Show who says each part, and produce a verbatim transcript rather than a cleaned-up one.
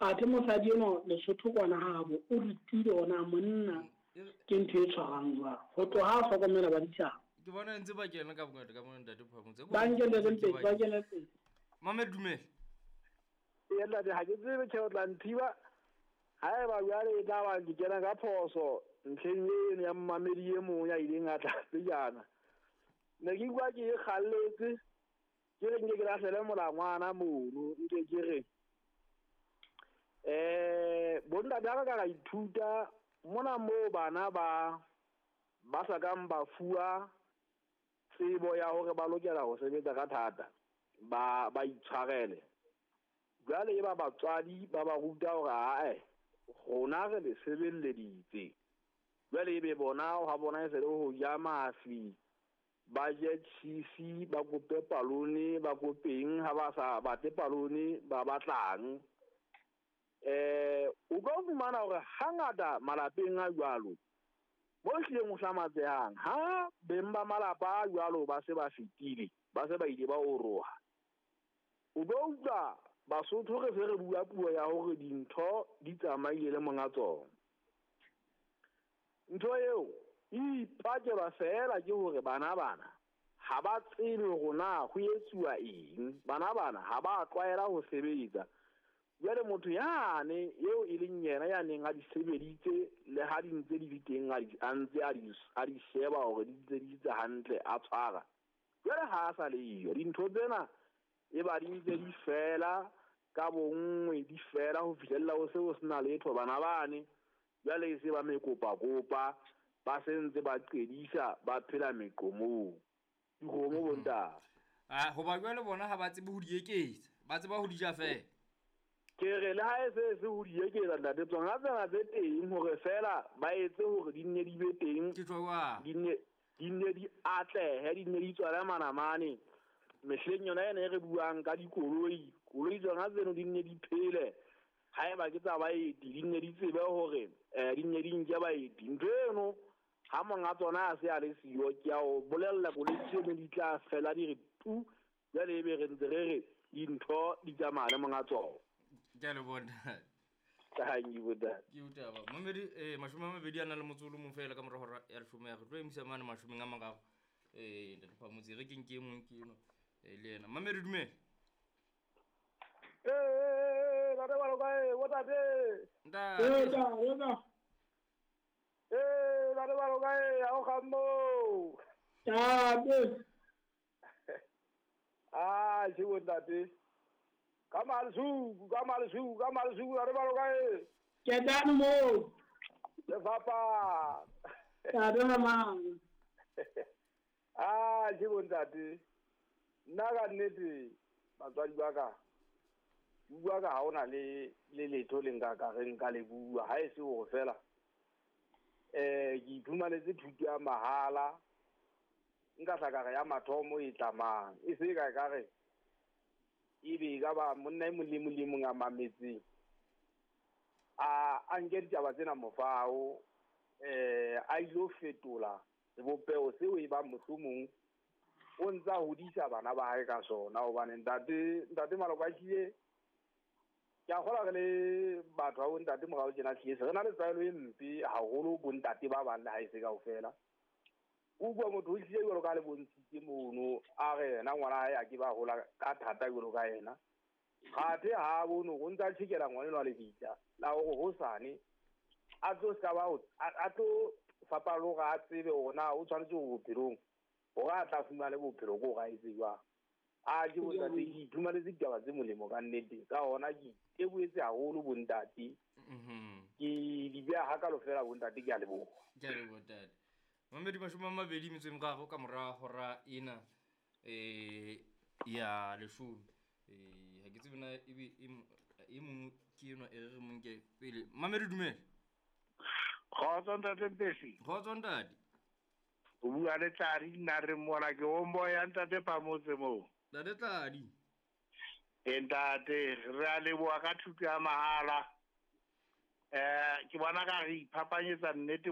Speaker 1: Athe mosadi enwa Lesotho kwana habo o rutile ona monna ke ntho e tshwarang jwang. Ho tloha a hlokomela ba ditjhaba.
Speaker 2: Ke bona ntse ba kena ka bongata ka mona ntate Phamotse.
Speaker 1: Ba nkele pele, ba kene pele.
Speaker 2: Mame dumela.
Speaker 3: Ee ntate, ha ke tsebe tjhe o tla nthiba. Haeba jwale e tla ba ke kena ka phoso ntlheng eno ya mmamedi e mong ya ileng a tla pejana. Ne ke bua ke kgalletse ke re nke ke lahlele molangwana mono nke ke re eh bontate ha ka ka ithuta mona moo bana ba ba sa kang ba fuwa tsebo ya hore ba lokela ho sebetsa ka thata ba ba itshwarele. Jwale e ba batswadi ba ba ruta hore ae rona re le sebelleditse. Jwale ebe bona ha bona e se le ho ja mafi ba je cheese ba kope palone ba kopeng ha ba sa batle palone ba batlang. Eh o ka fumana hore hangata malapeng a jwalo bo hlileng ho hlamatsehang ha beng ba malapa a jwalo ba se ba fetile ba se ba ile ba oroha. O bo utlwa Basotho re se re bua puo ya hore dintho di tsamaile le monga tsona. Ntho eo e ipakelwa feela ke hore bana bana ha ba tsebe hore na ho etsuwa eng. Bana bana ha ba tlwaela ho sebetsa. Jwale motho yane eo e leng yena ya neng a di sebeditse le ha di ntse di le teng a di a ntse a di a di sheba hore di ntse di tse hantle a tshwara. Jwale ha a sa le yo dintho tsena e ba di ntse di fela ka bonngwe di fela ho fihlella ho se ho sena letho bana bane. Jwale e se ba mekopa kopa ba sentse ba qedisa ba phela meqomong dikgomo bontate.
Speaker 2: Ah hoba jwale bona ha ba tsebe ho di eketsa ba tseba ho di ja fela.
Speaker 3: Ke re le ha e se se ho di eketsa ntate tsona tsena tse teng hore fela ba etse hore di nne di be teng
Speaker 2: ke tloa
Speaker 3: di nne di nne di atlehe di nne di tswale manamane. Mehleng yona ena e re buang ka dikoloi koloi tsona tseno di nne di phele haeba ke tsa baeti di nne di tsebe hore eh di nne di nke baeti. Ntho eno ha monga tsona a se a le siyo ke a o bolella koloi tseno di tla fela di re tu jwale ebe re ntse re re dintho di tsamaya le monga tsona.
Speaker 2: Ke a le bona.
Speaker 3: Thank you bontate.
Speaker 2: Ke utaba. Mamedi eh mashome a mabedi a na le motso o le mong fela ka mora hora ya leshome ya re tlo emisa mane mashomeng a mararo. Eh ntate Phamotse re ke nke e mong ke eno eh le yena. Mamedi dumela.
Speaker 3: Eh ntate ba lokae bontate.
Speaker 2: Ntate.
Speaker 1: Eh ntate.
Speaker 3: Eh ntate ba lokae ha o kgammo.
Speaker 1: Ntate.
Speaker 3: Ah ke bontate. Ka malsuku ka malsuku ka malsuku ntate ba lokae.
Speaker 1: Ke tane mo.
Speaker 3: Lefapha.
Speaker 1: Ntate mang.
Speaker 3: Ah ke bontate. Nna ka nnete batswadi ba ka bua ka ha ona le le letho le nka ka re nka le bua ha e se hore fela eh ke iphumanetse thuto ya mahala nka tla ka re ya mathomo e tlamang e se ka ka re ebe ka ba monna e mong le mong le mong a mametseng a a nke ditaba tsena mofao eh a ilo fetola sebopeho seo e ba mohlomong o ntsa hodisa bana ba hae ka sona hobane ntate ntate Maloko a hlile ke a kgola re le batho ba bontate morao tjena hlile se re na le tlwaelo e mpe haholo bontate ba bang le ha e se kaofela. O bua motho o hlile jwalo ka le bontshitse mono a re yena ngwana hae a ke ba hola ka thata jwalo ka yena kgathe ha bono o ntsa tjhekela ngwana enwa lebitla la hore hosane a tlo ska ba a tlo fapaloga a tsebe hore na o tshwanetse ho bophelong hore a tla fumane bophelo ko ga etse jwang. A ke bontate ke iphumanetse ditaba tse molemo ka nnete ka hona ke itebohetse haholo bontate. Ke di beha hakalo fela bontate ke a leboha.
Speaker 2: Ke a leboha ntate. Mamedi mashome a mabedi metso e meraro ka mora hora ena eh ya leshome. Eh ha ke tsebe na ebe e mong ke enwa e re re mo nke pele. Mamedi dumela.
Speaker 4: Kgotso ntate Mpesi.
Speaker 2: Kgotso ntate.
Speaker 4: O bua le Tladi nna re mona ke o moya ntate Phamotse moo.
Speaker 2: Ntate Tladi.
Speaker 4: E ntate re a leboha ka thuto ya mahala. Eh ke bona ka re iphapanyetsa nnete